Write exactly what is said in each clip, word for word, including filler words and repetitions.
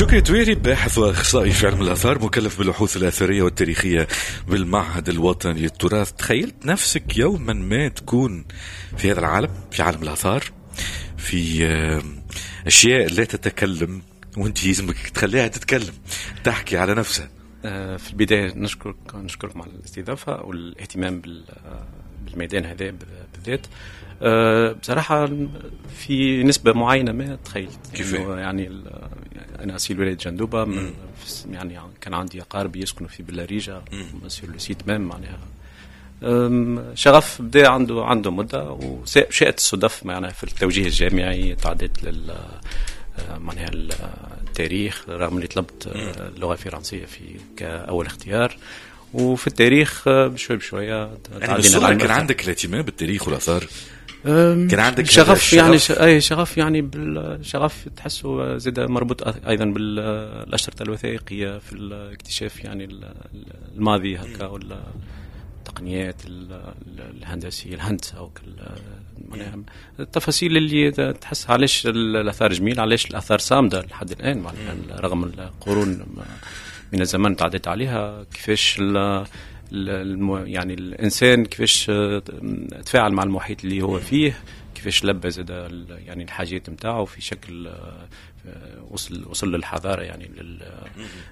شكري تويري، باحث واخصائي في علم الاثار، مكلف بالبحوث الاثرية والتاريخية بالمعهد الوطني للتراث. تخيلت نفسك يوما ما تكون في هذا العالم، في عالم الاثار، في اشياء لا تتكلم وانت يلزمك تخليها تتكلم، تحكي على نفسها؟ في البداية نشكرك نشكركم على الاستضافة والاهتمام بالميدان هذا بالذات. بصراحة في نسبة معينة ما تخيلت. كيف؟ يعني أنا أصيل ولاية جندوبة، يعني كان عندي أقارب يسكنوا في بلاريجا sur le site même. معناها شغف بدا عنده عنده مدة، وشاءت الصدف معناها في التوجيه الجامعي تعديت لل معناها التاريخ، رغم اللي طلبت اللغة الفرنسية في كأول اختيار، وفي التاريخ بشوي بشوية. يعني كان عندك الاهتمام بالتاريخ والآثار؟ كان عندك شغف يعني ش... اي شغف، يعني بالشغف تحسه زاد مربوط ايضا بالاشرطه الوثائقية في الاكتشاف يعني الماضي هكا، ولا التقنيات الهندسيه، الهندسة او معناها التفاصيل اللي تحس علاش الاثار جميل، علاش الاثار صامده لحد الان معناها رغم القرون من الزمن تعديت عليها، كيفاش الم... يعني الانسان كيفاش تفاعل مع المحيط اللي هو فيه، كيفاش لبى زاد يعني الحاجات نتاعو في شكل وصل وصل للحضاره، يعني لل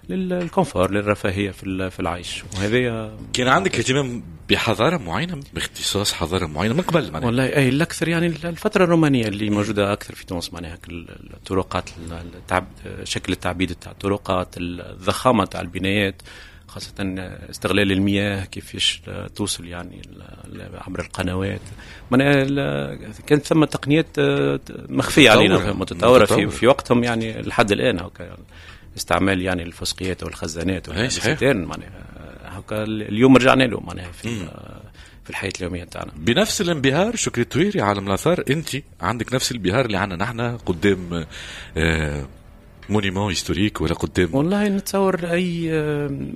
لل confort، للرفاهيه في في العيش. وهذا كان عندك اهتمام بحضاره معينه، باختصاص حضارة معينة من قبل معناها؟ والله اي، الاكثر يعني الفترة الرومانية اللي موجودة اكثر في تونس، معناها الطرقات، التعب، شكل التعبيد تاع الطرقات، الضخامة تاع البنايات، خاصة استغلال المياه كيفاش توصل يعني عبر القنوات. معناها كانت ثم تقنيات مخفية علينا، متطورة في, في وقتهم يعني لحد الآن. هكا استعمال يعني الفسقيات والخزانات والستان، معناها هكا اليوم رجعنا له معناها في في الحياة اليومية تاعنا. بنفس الانبهار شكري التويري عالم الآثار، أنت عندك نفس الانبهار اللي عندنا نحن قدام آه monument historique ولا قدام؟ والله نتصور اي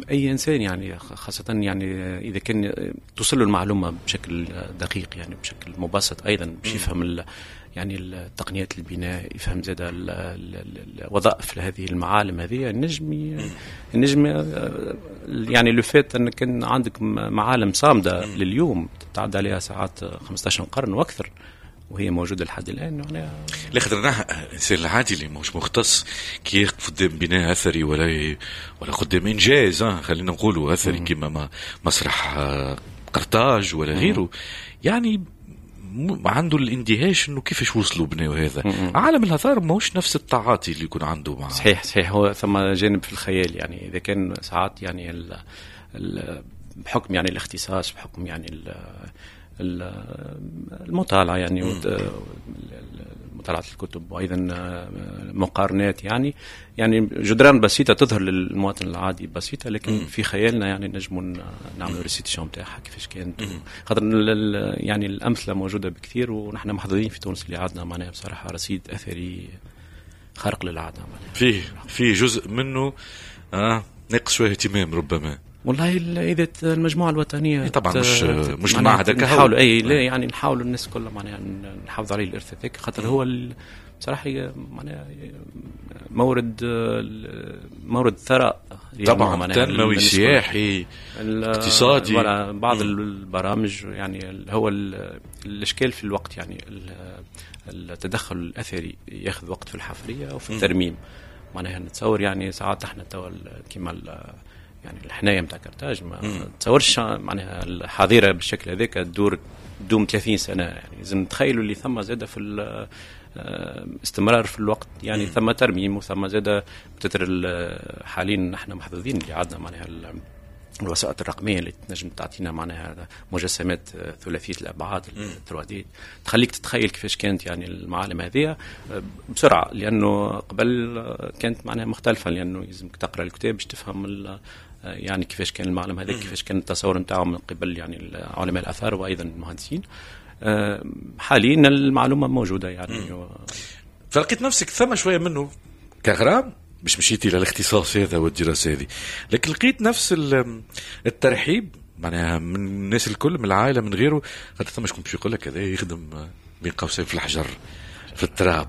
اي انسان يعني، خاصة يعني اذا كان توصل له المعلومة بشكل دقيق، يعني بشكل مبسط ايضا، باش يفهم يعني التقنيات البناء، يفهم زاد الوظائف لهذه المعالم هذه، النجم النجم يعني le fait ان كان عندك معالم صامده لليوم تتعدى عليها ساعات خمسطاش قرن واكثر وهي موجودة لحد الان. يعني لا خاطر الانسان العادي اللي مش مختص كي يقف قدام بناء اثري ولا ولا قدام انجاز، خلينا نقولوا اثري كما مسرح قرطاج ولا غيره، يعني عنده الاندهاش انه كيفاش وصلوا بناو هذا. عالم الاثار ماهوش نفس التعاطي اللي يكون عنده مع صحيح صحيح، هو ثم جانب في الخيال، يعني اذا كان ساعات يعني ال ال بحكم يعني الاختصاص، بحكم يعني ال المطالعة يعني مطالعة الكتب وأيضا مقارنات، يعني يعني جدران بسيطة تظهر للمواطن العادي بسيطة، لكن في خيالنا يعني نجم نعملوا restitution نتاعها كيفاش كانت، خاطر يعني الأمثلة موجودة بكثير، ونحن محظوظين في تونس اللي عندنا معناها بصراحة رصيد أثري خارق للعادة. معناها فيه فيه جزء منه آه ناقص شوية اهتمام ربما. والله اذا المجموعة الوطنية طبعا مش مش المعهد نحاولوا اي لا يعني نحاولوا الناس كلها معناها نحافظ عليه الارث هذاك، خاطر هو بصراحة معناها مورد مورد ثراء طبعا تنموي سياحي اقتصادي. بعض البرامج يعني هو الاشكال في الوقت، يعني التدخل الاثري ياخذ وقت في الحفريه وفي الترميم. معناها نتصور يعني ساعات احنا توا كيما يعني الحنايه نتاع كرتاج ما تصورش معناها الحظيرة بالشكل هذاك تدور تدوم ثلاثين سنة، يعني لازم نتخيلوا اللي ثم زاد في استمرار في الوقت، يعني ثم ترميم وثم زاد بتتر. حاليا نحن محظوظين اللي عندنا معناها الوسائط الرقمية اللي تنجم تعطينا معناها مجسمات ثلاثية الابعاد ثري دي تخليك تتخيل كيفاش كانت يعني المعالم هذه بسرعه، لانه قبل كانت معناها مختلفة، لانه لازمك تقرا الكتاب باش تفهم يعني كيفاش كان المعلم هذا، كيفاش كان التصور نتاعو من قبل يعني علماء الاثار وايضا المهندسين. حاليا المعلومة موجودة يعني و... فلقيت نفسك ثم شوية منه كغرام مش مشيتي للاختصاص هذا والدراسة هذه، لكن لقيت نفس الترحيب معناها من الناس الكل، من العائلة، من غيره، خاطر ثم شكون باش يقول لك هذا يخدم بين قوسين في الحجر في التراب.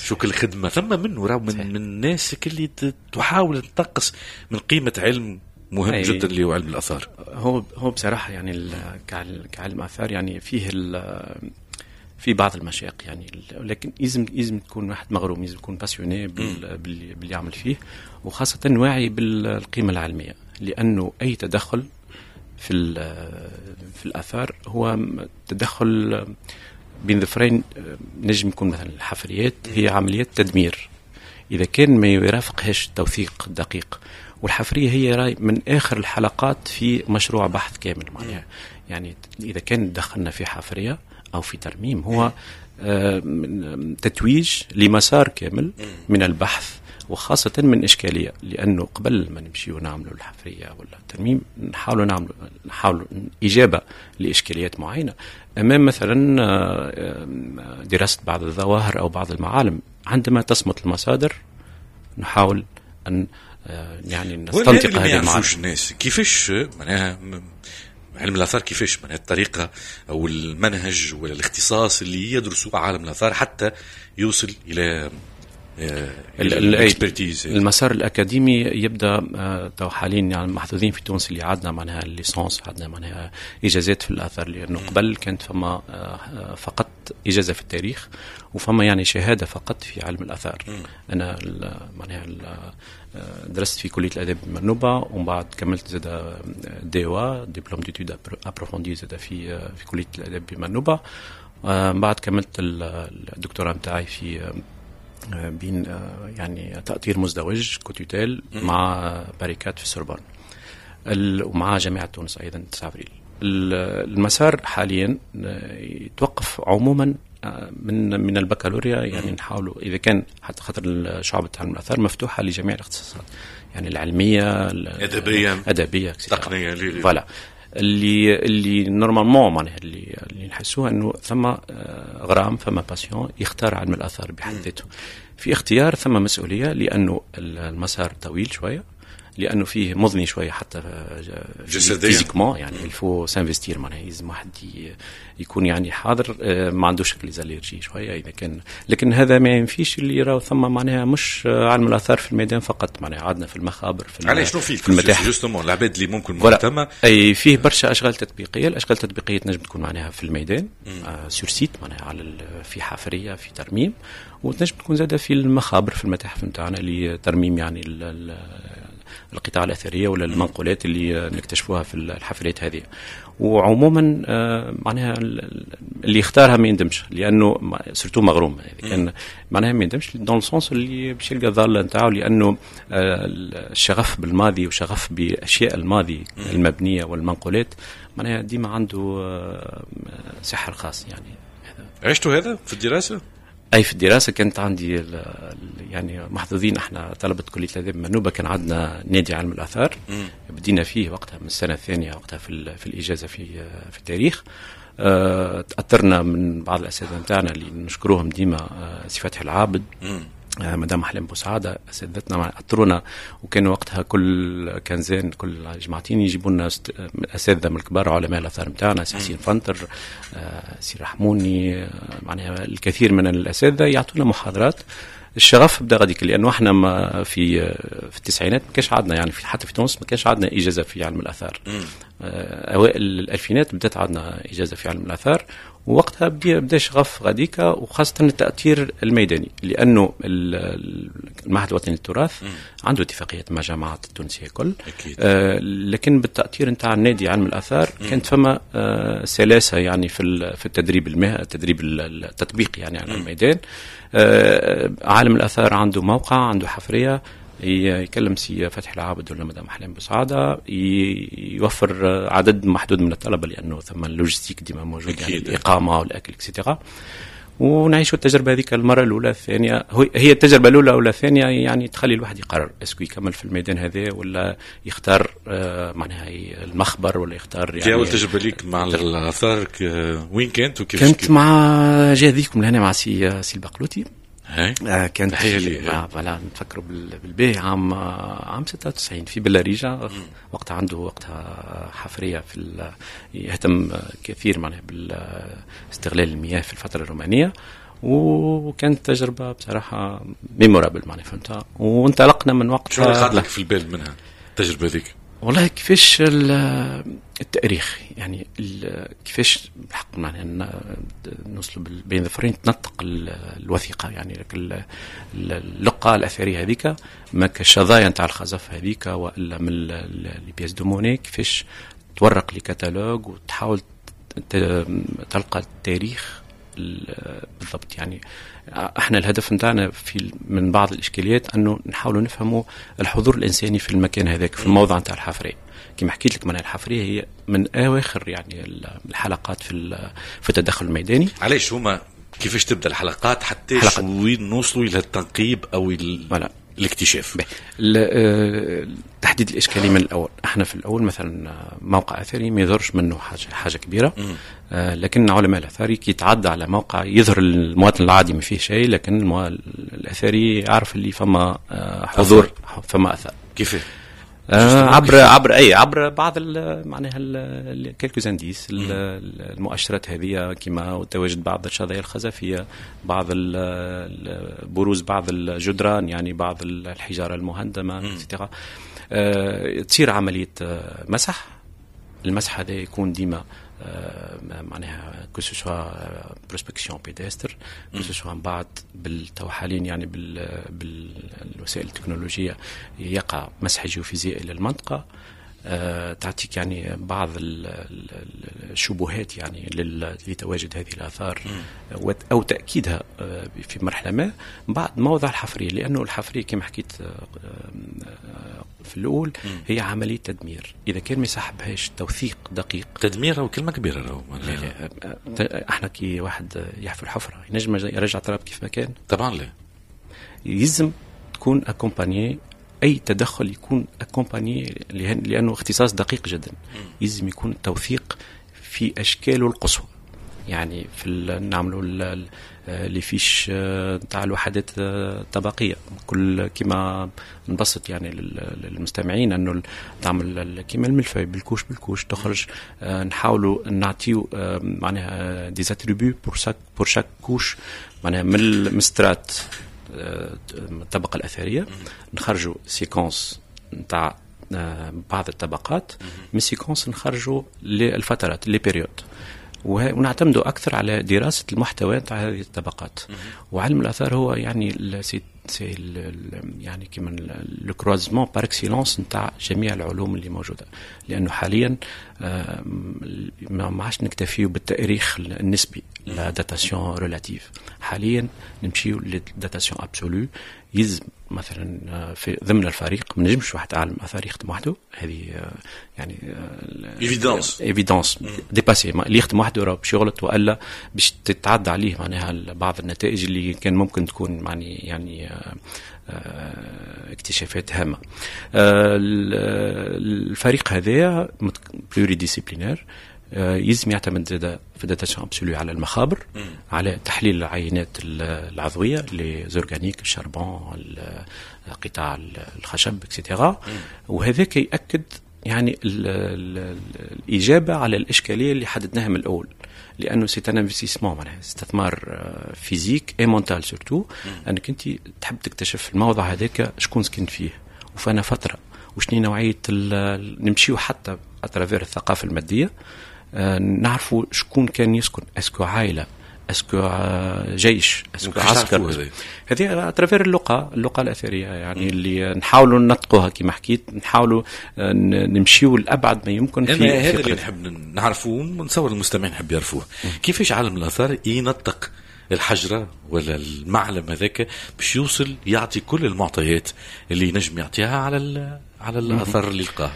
شو كل خدمة ثم منه راهو من, من الناس اللي تحاول تنقص من قيمة علم مهم أي جدا اللي هو علم الاثار. هو هو بصراحة يعني كعلم اثار يعني فيه في بعض المشاق يعني، لكن لازم لازم تكون واحد مغروم، لازم يكون passionné باللي يعمل فيه، وخاصة واعي بالقيمة العلمية، لانه اي تدخل في في الاثار هو تدخل بين ظفرين. نجم يكون مثلا الحفريات هي عمليات تدمير اذا كان ما يرافقهاش التوثيق الدقيق، والحفريه هي راي من اخر الحلقات في مشروع بحث كامل معناها. يعني اذا كان دخلنا في حفريه او في ترميم هو تتويج لمسار كامل من البحث، وخاصة من إشكالية، لأنه قبل ما نمشي ونعملوا الحفرية ولا الترميم نحاولوا نعملوا نحاولوا إجابة لإشكاليات معينة أمام مثلا دراسة بعض الظواهر أو بعض المعالم. عندما تصمت المصادر نحاول أن يعني نستنطق هذه المعالم. الناس كيفاش معناها علم الآثار، كيفاش معناها الطريقة أو المنهج ولا الاختصاص اللي يدرسوا عالم الآثار حتى يوصل إلى ال expertise؟ المسار الاكاديمي يبدا تو حاليا يعني محظوظين في تونس اللي عندنا معناها ال licence، عندنا معناها اجازات في الاثار، لانه قبل كانت فما فقط اجازه في التاريخ وفما يعني شهادة فقط في علم الاثار. انا معناها درست في كليه الاداب بمنوبه، ومن بعد كملت زاد DEA diplôme d'études approfondies زاد في في كليه الاداب بمنوبه. من بعد كملت الدكتوراه نتاعي في بين يعني تأطير مزدوج cotutelle مع Paris quatre في السوربون ومع جامعة تونس أيضا تسعة أفريل. المسار حاليا يتوقف عموما من من البكالوريا، يعني نحاولوا إذا كان حتى خاطر شعبة علم الآثار مفتوحة لجميع الاختصاصات، يعني العلمية، الأدبية، أدبية، تقنية، voilà. اللي اللي normalement معناها اللي اللي نحسوها انه ثم غرام، ثم passion يختار علم الاثار بحد ذاته. في اختيار ثم مسؤولية، لانه المسار طويل شوية، لانه فيه مضني شوية حتى جسديا physiquement، يعني il faut s'investir معناها لازم واحد يكون يعني حاضر، ما عندوش les allergies شوية اذا كان. لكن هذا ما ينفيش اللي راهو ثم معناها مش علم الاثار في الميدان فقط، معناها عندنا في المخابر، في علاش شنو فيه في المتاحف justement العباد اللي ممكن مهتمة. اي فيه برشا اشغال تطبيقية. الاشغال التطبيقية تنجم تكون معناها في الميدان آه sur site معناها على في حفريه، في ترميم، وتنجم تكون زاده في المخابر في المتاحف نتاعنا لترميم يعني القطع الأثرية ولا المنقولات اللي نكتشفوها في الحفريات هذه. وعموما معناها اللي يختارها ما يندمش، لأنه surtout مغروم كان معناها ما يندمش dans le sens اللي باش يلقى الضالة نتاعو، لأنه الشغف بالماضي وشغف بأشياء الماضي المبنية والمنقولات معناها ديما عنده سحر خاص يعني. عشتوا هذا في الدراسة؟ اي في الدراسة كانت عندي يعني محظوظين احنا طلبه كليه الاداب منوبه، كان عندنا نادي علم الاثار بدينا فيه وقتها من السنة الثانية وقتها في في الاجازة في في التاريخ. أه تاثرنا من بعض الاساتذة نتاعنا اللي نشكروهم ديما، سي فتحي العابد، آه مدام احلام بوسعاده، اساتذتنا اثرونا، وكانوا وقتها كل quinzaine كل جماعتين يجيبوا لنا اساتذة من الكبار علماء الاثار نتاعنا، سي حسين فنتر، آه سي رحموني، آه معناها الكثير من الاساتذة يعطونا محاضرات. الشغف بدا غاديك، لانه احنا ما في في التسعينات ما كانش عندنا يعني في حتى في تونس ما كانش عندنا اجازه في علم الاثار. اوائل الالفينات بدات عندنا اجازه في علم الاثار، ووقتها بدا بدا شغف غاديكا، وخاصة التاثير الميداني، لانه المعهد الوطني للتراث عنده اتفاقيات مع جامعات التونسية كل، آه لكن بالتاثير نتاع النادي علم الاثار كانت فما آه سلاسة يعني في في التدريب المه التدريب التطبيقي يعني على الميدان. آه عالم الاثار عنده موقع، عنده حفريه، يكلم سي فتحي العابد ولا مدام احلام بوسعاده، يوفر عدد محدود من الطلبة لانه ثم ال logistique ديما موجود يعني الاقامة والاكل et cetera. ونعيشوا التجربة هذيك المرة الاولى الثانية، هي التجربة الاولى ولا الثانية يعني تخلي الواحد يقرر est-ce que يكمل في الميدان هذا ولا يختار معناها المخبر ولا يختار يعني. اول تجربه ليك مع الاثار وين كانت وكيف؟ كنت مع جاذيكم لهنا مع سي سي البقلوتي. آه كانت voilà نتفكروا بالباهي عام عام ستة وتسعين في بلاريجا، وقتها عنده وقتها حفريه في يهتم كثير معناها باستغلال المياه في الفترة الرومانية، وكانت تجربه بصراحة mémorable معناها، فهمتها. وانطلقنا من وقتها. شو اللي لك في البال منها التجربة هذيك؟ والله كيفاش التاريخ يعني، كيفاش بالحق معناها نوصلوا بين ظفرين تنطق الوثيقة يعني، اللقه الاثرية هذيك ما كالشظايا نتاع الخزف هذيك والا من les pièces de monnaie، كيفاش تورق les catalogues وتحاول تلقى التاريخ بالضبط. يعني احنا الهدف نتاعنا في من بعض الاشكاليات انه نحاولوا نفهموا الحضور الانساني في المكان هذاك، في الموضع نتاع الحفريه. كما حكيت لك معناها الحفريه هي من اواخر يعني الحلقات في في التدخل الميداني. علاش هما كيفاش تبدا الحلقات حتى وين نوصلوا الى التنقيب او ال... الاكتشاف؟ تحديد الاشكالية من الاول. احنا في الاول مثلا موقع اثري ما يظهرش منه حاجة حاجة كبيرة، آه لكن علماء الاثاري كي يتعدى على موقع يظهر المواطن العادي ما فيه شيء، لكن الاثري يعرف اللي فما آه حضور، فما اثر. كيف؟ آه عبر عبر اي عبر بعض معناها quelques indices، المؤشرات هذه كما تواجد بعض الشظايا الخزفيه، بعض بروز بعض الجدران، يعني بعض الحجارة المهندمه et cetera. آه تصير عملية مسح. المسح هذا يكون ديما آه معناها que ce soit prospection pédestre، que ce soit من بعد بالتو حاليا يعني بال بالوسائل التكنولوجية يقع مسح جيوفيزيائي للمنطقه، آه تعطيك يعني بعض الشبهات يعني لتواجد هذه الاثار او تاكيدها في مرحلة ما بعد موضع الحفريه. لانه الحفريه كما حكيت في الاول هي عملية تدمير، اذا كان ما يصاحبهاش توثيق دقيق. تدمير او كلمة كبيرة راهو. احنا كي واحد يحفر حفره ينجم يرجع تراب كيف ما كان؟ طبعا لا. يلزم تكون accompagnée، اي تدخل يكون accompagné، لانه اختصاص دقيق جدا. يلزم يكون توثيق في اشكاله القصوى، يعني في نعملوا les fiches تاع الوحدات الطبقية كل، كما نبسط يعني للمستمعين انه تعمل كما ال mille-feuille بال couche بال couche تخرج، نحاولوا نعطيو معناها des attributs pour chaque pour chaque couche، معناها من ال strate الطبقة الاثرية نخرجوا séquence نتاع بعض الطبقات، من séquence نخرجوا للفترات les périodes، ونعتمدوا اكثر على دراسة المحتوى تاع هذه الطبقات. وعلم الاثار هو يعني c'est c'est يعني كيما le croisement par excellence نتاع جميع العلوم اللي موجوده، لانه حاليا ما عادش نكتفيو بالتاريخ النسبي، la datation relative، حاليا نمشيو لل datation absolue. يلزم مثلا في ضمن الفريق ما نجمش واحد عالم اثار يخدم وحده، هذه يعني évidence évidence dépassée. اللي يخدم وحده راه باش يغلط والا باش تتعدى عليه معناها بعض النتائج اللي كان ممكن تكون يعني يعني اكتشافات هامة. الفريق هذا pluridisciplinaire يلزم يعتمد زاد في datation absolue على المخابر، على تحليل العينات العضوية، les organiques، ال charbon، قطاع الخشب et cetera. وهذاك ياكد يعني ال ال الاجابة على الاشكالية اللي حددناها من الاول، لانه c'est un investissement، معناها استثمار physique et mental surtout، انك انت تحب تكتشف الموضع هذاك شكون سكن فيه وفانا فترة وشني نوعية، نمشيو حتى à travers الثقافة الماديه، نعرفوا شكون كان يسكن، est-ce que عائله، est-ce que جيش، est-ce que عسكر. هذه à travers اللقى اللقى الاثرية يعني اللي نحاولوا ننطقوها كما حكيت، نحاولوا نمشيو لابعد ما يمكن. في هذا اللي نحب نعرفوه ونصور المستمعين نحب يعرفوه، كيفاش عالم الاثار ينطق الحجرة ولا المعلم هذاك باش يوصل يعطي كل المعطيات اللي ينجم يعطيها على على الاثار اللي لقاه.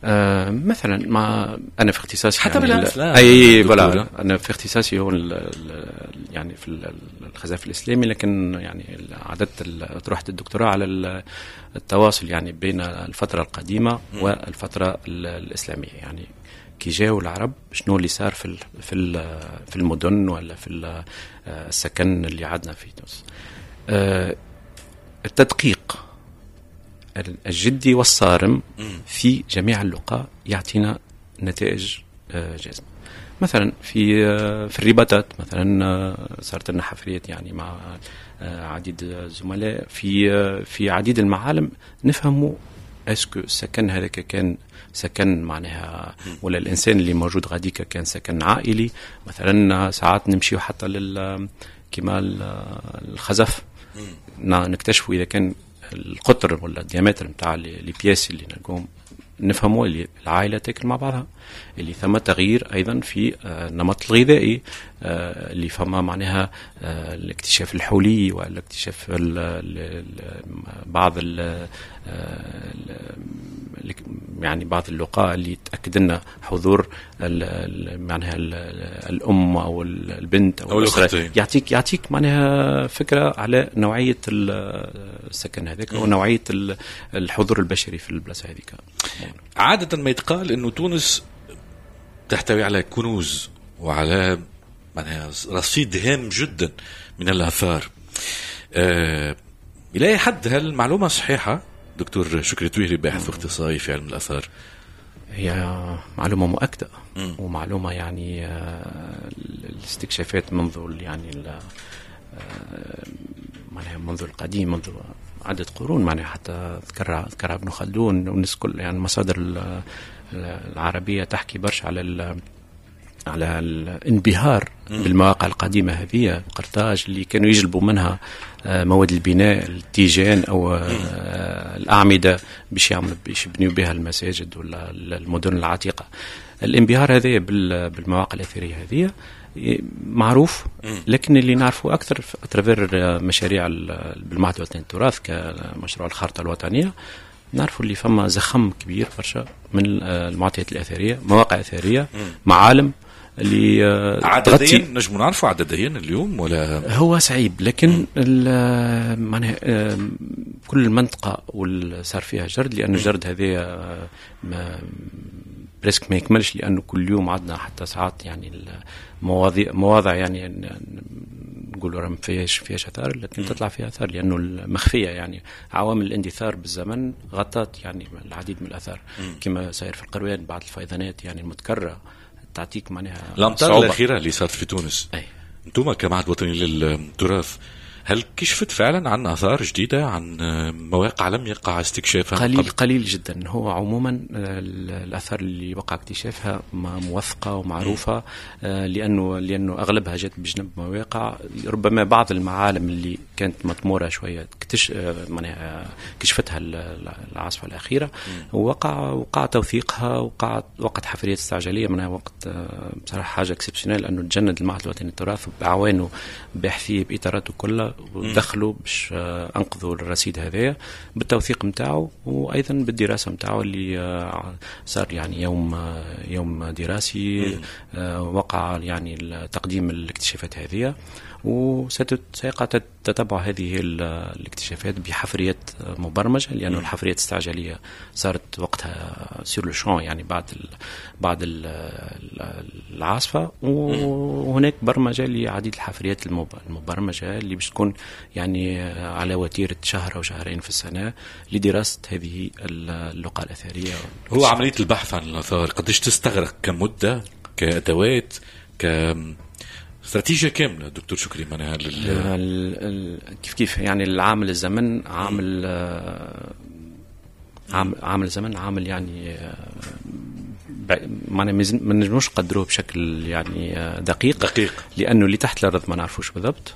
آه مثلا ما انا في اختصاصي حتى يعني بالاسلام اي voilà، انا في اختصاصي هو ال ال يعني في الخزف الاسلامي، لكن يعني عددت اطروحة الدكتوراه على التواصل يعني بين الفترة القديمة والفترة الاسلاميه، يعني كي جاوا العرب شنو اللي صار في في في المدن ولا في السكن اللي عندنا في تونس. آه التدقيق الجدي والصارم في جميع اللقاء يعطينا نتائج جازمة. مثلا في في الرباطات مثلا صارت لنا حفريات يعني مع عديد الزملاء في في عديد المعالم، نفهموا est-ce que السكن هذاك كان سكن معناها ولا الانسان اللي موجود غاديك كان سكن عائلي. مثلا ساعات نمشيو حتى لل كما الخزف، نكتشفوا اذا كان القطر ولا ال diamètre نتاع les pièces اللي نلقوهم، نفهموا اللي العائلة تاكل مع بعضها، اللي ثم تغيير ايضا في النمط الغذائي، اللي فما معناها الاكتشاف الحولي والاكتشاف بعض ال يعني بعض اللقاء اللي تاكد لنا حضور معناها الام او البنت او الاسرة، يعطيك يعطيك معناها فكرة على نوعية السكن هذاك ونوعية الحضور البشري في البلاصة هذيك. عادة ما يتقال انه تونس تحتوي على كنوز وعلى معناها رصيد هام جدا من الاثار. أه الى اي حد هل المعلومة صحيحه دكتور شكري تويهري، باحث واختصاصي في علم الاثار؟ هي معلومة مؤكدة م. ومعلومه يعني الاستكشافات منذ يعني معناها منذ القديم، منذ عدة قرون، معناها حتى ذكرها ذكرها ابن خلدون والناس كل، يعني المصادر العربية تحكي برشا على على الانبهار بالمواقع القديمة هذه، قرطاج اللي كانوا يجلبوا منها مواد البناء، التيجان أو الأعمدة باش يعملوا باش يبنيوا بها المساجد ولا المدن العتيقة. الانبهار هذا بالمواقع الأثرية هذه معروف، لكن اللي نعرفه أكثر à travers مشاريع بالمعهد الوطني للتراث كمشروع الخارطة الوطنية، نعرفوا اللي فما زخم كبير برشا من المعطيات الأثرية، مواقع أثرية، معالم اللي عدديا نجم نعرفوا عدديا اليوم ولا هو صعيب، لكن معناها كل منطقة واللي صار فيها جرد، لأنه الجرد هذا presque ما يكملش، لأنه كل يوم عندنا حتى ساعات يعني المواضيع مواضع يعني نقولوا راه ما فيهاش فيهاش اثار، لكن تطلع فيها اثار لانه المخفيه يعني عوامل الاندثار بالزمن غطت يعني العديد من الاثار، كما صاير في القروان بعد الفيضانات يعني المتكررة تعطيك معناها الامطار الاخيرة اللي صارت في تونس. انتم كمعهد وطني للتراث هل كشفت فعلا عن اثار جديدة، عن مواقع لم يقع استكشافها؟ قليل قبل؟ قليل جدا. هو عموما الاثار اللي وقع اكتشافها موثقة ومعروفة، لانه لانه اغلبها جت بجنب مواقع، ربما بعض المعالم اللي كانت مطموره شوية اكتش معناها كشفتها العاصفة الاخيرة، ووقع وقع توثيقها، وقع وقت حفريات استعجاليه منها وقت بصراحة حاجة exceptionnelle، انه تجند المعهد الوطني للتراث باعوانه باحثيه باطاراته كلها ودخلوا باش انقذوا الرصيد هذايا بالتوثيق نتاعو وايضا بالدراسة نتاعو اللي صار يعني يوم يوم دراسي وقع يعني تقديم الاكتشافات هذه، وسيقع تتبع هذه الاكتشافات بحفريات مبرمجه، لأن الحفريات الاستعجاليه صارت وقتها sur le champ يعني بعد ال بعد ال العاصفة، وهناك برمجة لعديد الحفريات المبرمجه اللي باش تكون يعني على وتيرة شهر او شهرين في السنة لدراسة هذه اللقى الاثرية. هو عملية البحث عن الاثار قديش تستغرق كمده، كادوات، ك استراتيجية كاملة دكتور شكري؟ معناها لل... كيف كيف يعني العامل الزمن عامل عامل عامل الزمن عامل يعني معناها ما نجموش نقدروه بشكل يعني دقيق دقيق، لانه اللي تحت الارض ما نعرفوش بالضبط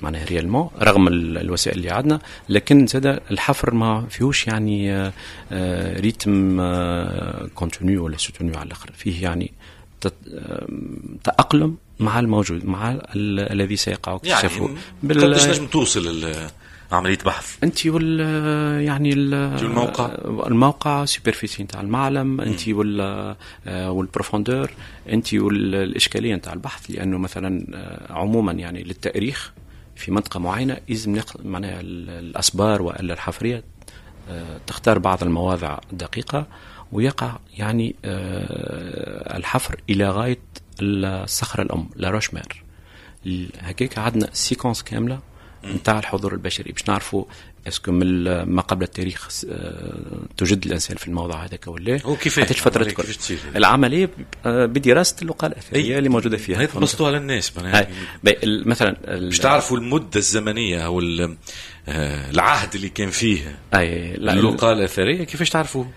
معناها réellement رغم الوسائل اللي عندنا، لكن زاد الحفر ما فيهوش يعني rythme continu ولا soutenu على الاخر، فيه يعني تأقلم مع الموجود، مع ال- الذي سيقع اكتشافه. يعني بال... قداش نجم توصل عملية بحث؟ انت وال يعني الموقع الموقع superficie نتاع المعلم، انت وال وال profondeur، انت والاشكاليه نتاع البحث، لانه مثلا عموما يعني للتاريخ في منطقة معينة لازم معناها الاسبار والا الحفريه تختار بعض المواضع الدقيقة، ويقع يعني الحفر الى غاية الصخرة الام la roche mère. هكاك عندنا séquence كاملة نتاع الحضور البشري باش نعرفوا est-ce que من ما قبل التاريخ توجد الانسان في الموضع هذاك ولا هو كيفاش الفترة كيفاش العملية بدراسة اللقاء الاثرية اللي موجودة فيها. هي تبسطوها للناس مثلا باش تعرفوا المدة الزمنية او العهد اللي كان فيه أي اللقاء الاثرية كيفاش تعرفوه؟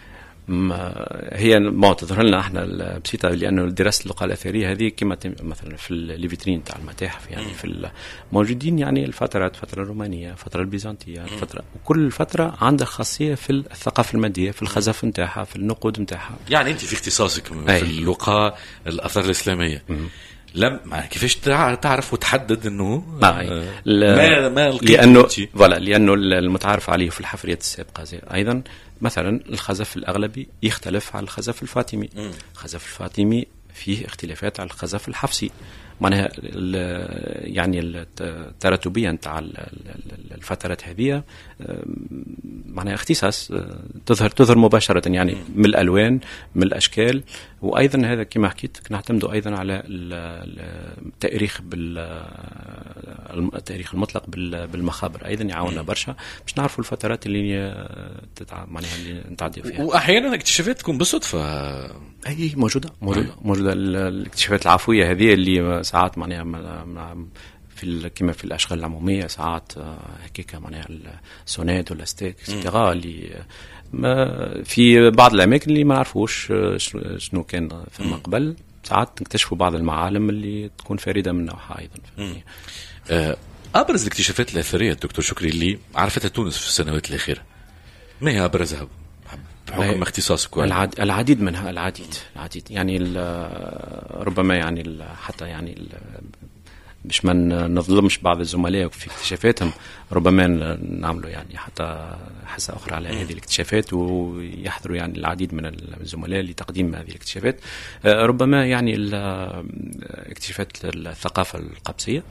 هي ما تظهر لنا احنا البسيطة لانه دراسة اللقاء الاثرية هذه كما مثلا في les vitrines تاع المتاحف يعني في موجودين يعني الفترات، الفترة الرومانية، الفترة البيزنطيه، الفترة، وكل فترة عندها خاصية في الثقافة المادية، في الخزف نتاعها، في النقود نتاعها. يعني انت في اختصاصك في اللقاء الاثار الاسلامية مم. لم كيفاش تعرف وتحدد انه ما ما, ما لانه voilà لانه المتعارف عليه في الحفريات السابقة زي ايضا مثلا الخزف الاغلبي يختلف على الخزف الفاطمي، الخزف الفاطمي فيه اختلافات على الخزف الحفصي، معناها يعني التراتبيه نتاع الفترات هذه معناها اختصاص تظهر تظهر مباشرة يعني من الالوان من الاشكال. وايضا هذا كما حكيت نعتمد ايضا على التاريخ بالتاريخ المطلق بالمخابر ايضا يعاوننا برشا باش نعرفوا الفترات اللي تتع... معناها اللي نتعدي فيها. واحيانا اكتشافات تكون بالصدفة. اي موجودة موجودة موجودة الاكتشافات العفوية هذه اللي ساعات معناها في كما في الاشغال العمومية ساعات هكاك معناها السوناد ولا STEG et cetera اللي ما في بعض الاماكن اللي ما نعرفوش شنو كان ثم قبل، ساعات نكتشفوا بعض المعالم اللي تكون فريدة من نوعها ايضا. ابرز الاكتشافات الاثرية دكتور شكري اللي عرفتها تونس في السنوات الاخيرة، ما هي ابرزها بحكم اختصاصك؟ العد... العديد منها، العديد العديد يعني ربما يعني حتى يعني باش ما نظلمش بعض الزملاء في اكتشافاتهم، ربما نعملوا يعني حتى حصة أخرى على هذه الاكتشافات ويحضروا يعني العديد من الزملاء لتقديم هذه الاكتشافات. ربما يعني اكتشافات الثقافة القبصية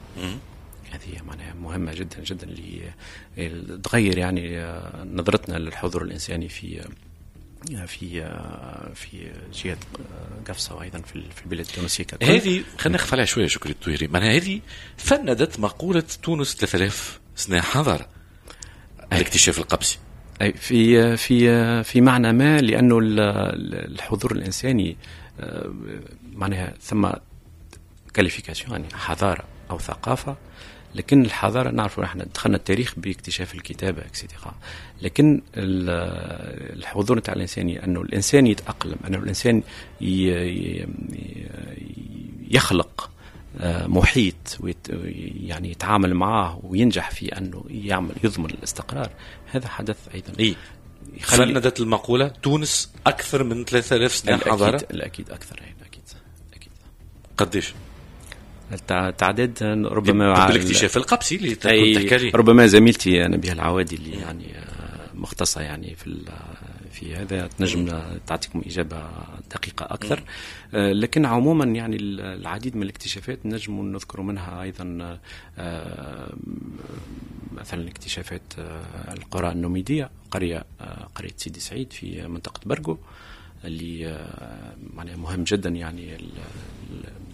هذه معناها مهمة جدا جدا اللي تغير يعني نظرتنا للحضور الإنساني في في في جهة قفصه وايضا في البلاد التونسية ككل. هذه خلينا نخف عليها شوية شكري الطويري، معناها هذه فندت مقولة تونس ثلاثة آلاف سنة حضارة، الاكتشاف القبسي. اي في في في معنى ما، لانه الحضور الانساني معناها ثم qualification يعني حضارة او ثقافة، لكن الحضارة نعرفوا احنا دخلنا التاريخ باكتشاف الكتابة et cetera، لكن الحضور نتاع الانساني انه الانسان يتاقلم، انه الانسان يخلق محيط يعني يتعامل معه وينجح في انه يعمل يضمن الاستقرار، هذا حدث ايضا. إيه؟ فندت المقولة تونس اكثر من ثلاثة آلاف سنة حضارة؟ الاكيد اكثر، اكيد اكيد. قديش؟ التعداد ربما بالاكتشاف القبسي اللي كنت تحكي عليه، ربما زميلتي نبيهة العوادي اللي يعني مختصة يعني في في هذا تنجم تعطيكم اجابه دقيقة اكثر. لكن عموما يعني العديد من الاكتشافات نجم نذكر منها ايضا مثلا اكتشافات القرى النوميديه، قرية قرية سيدي سعيد في منطقة برقو اللي معناها مهم جدا، يعني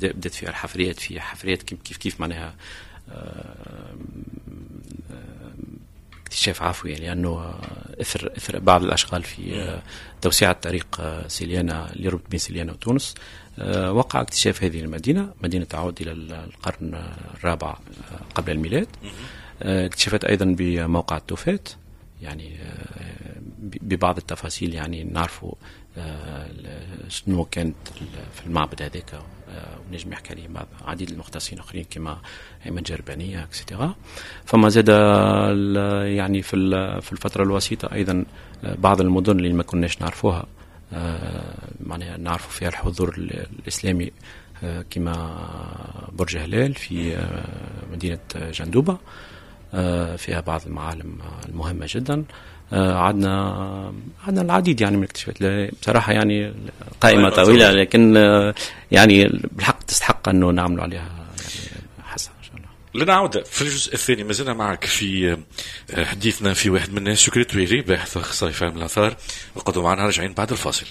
بدأت فيها الحفريات، في حفريات كيف كيف معناها اكتشاف عفوي، لأنه اثر اثر بعض الأشغال في توسعة طريق سيليانا اللي يربط بين سيليانا وتونس وقع اكتشاف هذه المدينة، مدينة تعود إلى القرن الرابع قبل الميلاد. اكتشفت أيضا بموقع التوفات، يعني ببعض التفاصيل يعني نعرفوا شنو كانت في المعبد هذاك، ونجم يحكي عليه بعض عديد المختصين اخرين كما ايمن جربانيه et cetera. فما زاد يعني في في الفترة الوسيطة ايضا بعض المدن اللي ما كناش نعرفوها، معناها نعرفوا فيها الحضور الاسلامي كما برج هلال في مدينة جندوبه، فيها بعض المعالم المهمة جدا. عندنا عندنا العديد يعني من الاكتشافات بصراحة، يعني قائمة طويلة، لكن يعني بالحق تستحق انه نعملوا عليها يعني حصة ان شاء الله. لنا عوده في الجزء الثاني، ما زلنا معك في حديثنا في واحد من الناس، شكري تويري باحث اخصائي في علم الاثار، وقعدوا معنا راجعين بعد الفاصل.